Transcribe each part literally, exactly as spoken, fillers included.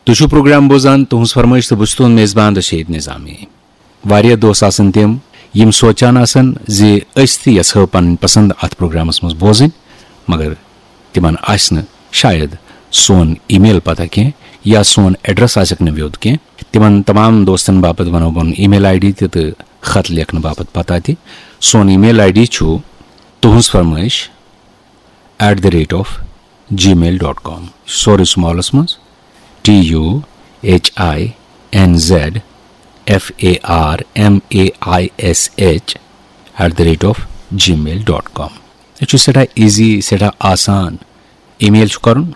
تُہۍ چھِو پروگرام بوزان تُہٕنٛز فرمٲیش تہٕ بہٕ چھُس تُہُنٛد میزبان رشیٖد نظامی۔ واریاہ دوست آسان تِم، یِم سوچان آسان زِ أسۍ تہِ یژھو پنٕنۍ پسند اتھ پروگرامس منٛز بوزٕنۍ، مگر تِمن آسہِ نہٕ شاید سون ای میل پتہ کینٛہہ یا سون ایڈریس آسٮ۪کھ نہٕ ویوٚد کینٛہہ۔ تِمن تمام دوستن باپتھ ونو بہٕ ای میل آئی ڈی تہِ تہٕ خط لیکھنہٕ باپتھ پتہ تہِ۔ سون ای میل آئی ڈی چھُ تُہٕنٛز فرمٲیش at the rate of gmail dot com، سورُے سمالس منٛز، T U H I N Z F A R M A I S H at the rate of gmail dot com۔ یہِ چھُ سٮ۪ٹھاہ ایزی، سٮ۪ٹھاہ آسان۔ ای میل چھُ کرُن،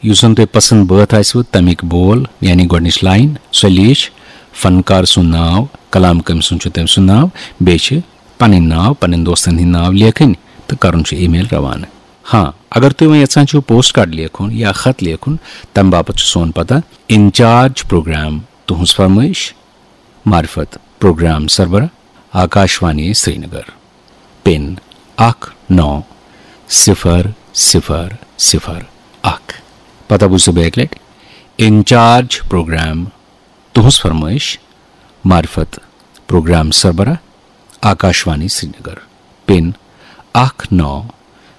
یُس زن تۄہہِ پسند بٲتھ آسِوٕ، تمیُک بول، یعنی گۄڈٕنِچ لاین، سۄ لیٖچھ، فنکار سُنٛد ناو، کلام کٔمۍ سُنٛد چھُ، تٔمۍ سُنٛد ناو، بیٚیہِ چھِ پنٕنۍ ناو، پنٕنۍ دوستن ہٕنٛدۍ ناو لیکھٕنۍ تہٕ کرُن چھُ ای میل روانہٕ۔ ہاں، اگر تُہۍ وۄنۍ یژھان چھِو پوسٹ کارڈ لیکھُن یا خط لیکھُن، تمہِ باپتھ چھُ سون پتہ، انچارج پروگرام، تُہٕنٛز فرمٲیش، معرفت پروگرام سربراہ، آکاشوانی سرینگر، پن اکھ نو صفر صفر صفر اکھ۔ پتہ بوٗزِو بیٚیہِ اکہِ لٹہِ، انچارج پروگرام، تُہٕنٛز فرمٲیش، معرفت پروگرام سربراہ، آکاشوانی سرینگر، پن اکھ نو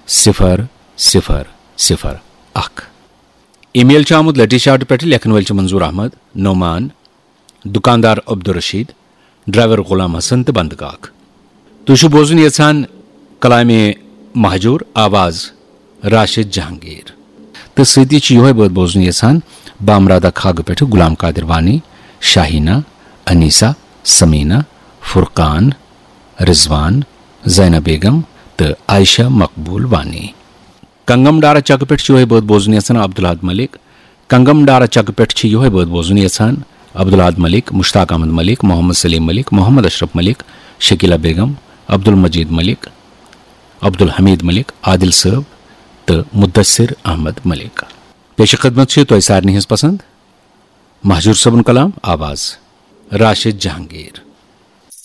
صفر صفر صفر اکھ۔ ای میل چھُ آمُت لٹی شاٹ پٮ۪ٹھ، لیکھن وٲلۍ چھِ منظور احمد، نعمان، دُکاندار عبدالرشید، ڈرائیور غلام حسن تہٕ بندٕ کاک۔ تُہۍ چھِو بوزُن یژھان کلامِ مہجور، آواز راشد جہانگیر۔ تہٕ سۭتی چھِ یِہوٚے بٲتھ بوزُن یژھان بامرادہ کھاگہٕ پٮ۪ٹھٕ غلام قادر وانی، شاہینہ، انیسہ، سمینہ، فرقان، رضوان، زینہ بیگم تہٕ عائشہ مقبول وانی۔ کنگم ڈارا چکہٕ پٮ۪ٹھ چھِ یِہوٚے بٲتھ بوزُن یژھان عبدالحد ملک۔ کنگم ڈارا چکہٕ پٮ۪ٹھ چھِ یِہوٚے بٲتھ بوزُن یژھان عبدالحد ملک، مشتاق احمد ملک، محمد سلیم ملک، محمد اشرف ملک، شکیلہ بیگم، عبدالمجید ملک، عبدالحمید ملک، عادل صٲب تہٕ مدثر احمد ملک۔ پیش خدمت چھِ تۄہہِ سارنٕے ہٕنٛز پسند مہجور صٲبُن کلام، آواز راشد جہانگیر۔